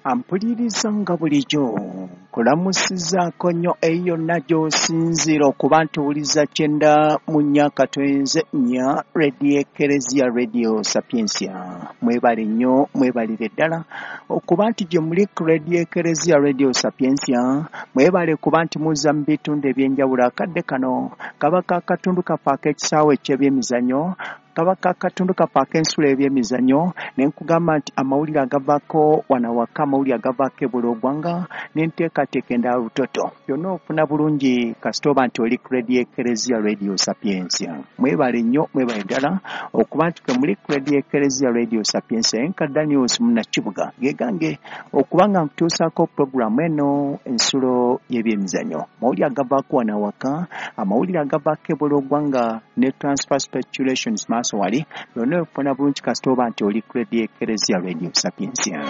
Ampuliriza nga bulijjo nkulamusizzaako nnyo eyo yonna gy'osinziira okuba nti owuliza 94.4 Radio Ekereziya Radio Sapientia. Mwebale nnyo, mwebalire ddala okuba nti gye muli ku Radio Ekereziya Radio Sapientia. Mwebale kuba nti muzza mu bitundu eby'enjawulo. Akadde kano kaba ka katundu kaffe ak'ekisaawe eky'ebyemizannyo, kaba ka katundu kaffe ak'ensulo y'ebyemizannyo, ne nkugamba nti amawulire agavaako wano awaka, amawulire agavaako ebweru w'eggwanga n'enteekateeka endala lutoto, byonna ofuna bulungi kasita oba nti oli ku Radio Ekereziya Radio Sapientia. Mwebale nnyo, mwebale ddala okuba nti kwe muli ku Radio Ekereziya Radio Sapientia. Enka Daniels Munnakibuga ge gange okuba nga nkutuusaako pulogulaamu eno ensulo y'ebyemizannyo, amawulire agavaako wano awaka, amawulire agavaako ebweru w'eggwanga ne transfer speculations maaso wali, byonna ofuna bulungi kasita oba nti oli ku Radio Ekereziya Radio Sapientia.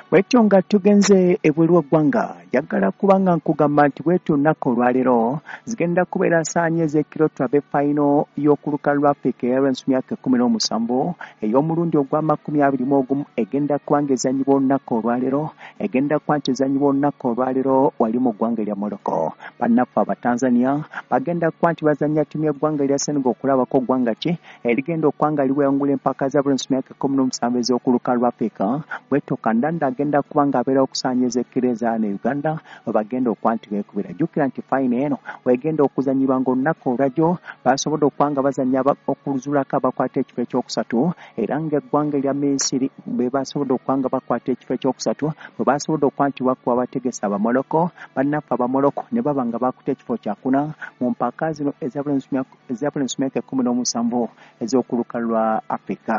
Bwetyo nga tugenze ebweru w'eggwanga, njagala kubanga nkugamba nti bwetyo olunaku olwaleero zigenda kubeera ssaanya ez'ekiro tulabe fayino y'okuluka lwa Africa eya myaka 17 ey'omulundi ogwa 21 egenda kuba nga ezannyibwa olunaku olwaleero, egenda kuba nti ezannyibwa olunaku olwaleero wali mu ggwanga erya Morocco. Bannaffe Abatanzania bagenda kuba nti bazannya ttiimu y'eggwanga erya Senegal okulabako ggwanga ki erigenda okuba nga liwangula empaka za myaka 17 ez'okuluka lwa Africa. Bwetyo Kandanda agenda kuba nga abeera okusaanya ez'ekiro ezaana e Uganda we bagenda okuba nti beekubira. Jjukira nti fayino eno wegenda okuzannyibwa ng'olunaku olwajjo basobodde okuba nga bazannya okuzuulako abakwata ekifo ekyokusatu, era ng'eggwanga erya Misiri bwe basobodde okuba nga bakwata ekifo ekyokusatu, bwe basobodde okuba nti bakuba abategesi Abamoloko, bannaffe Abamoloko ne baba nga bakutte ekifo kyakuna mu mpaka zino eza myaka 17 ez'okuluka lwa Africa.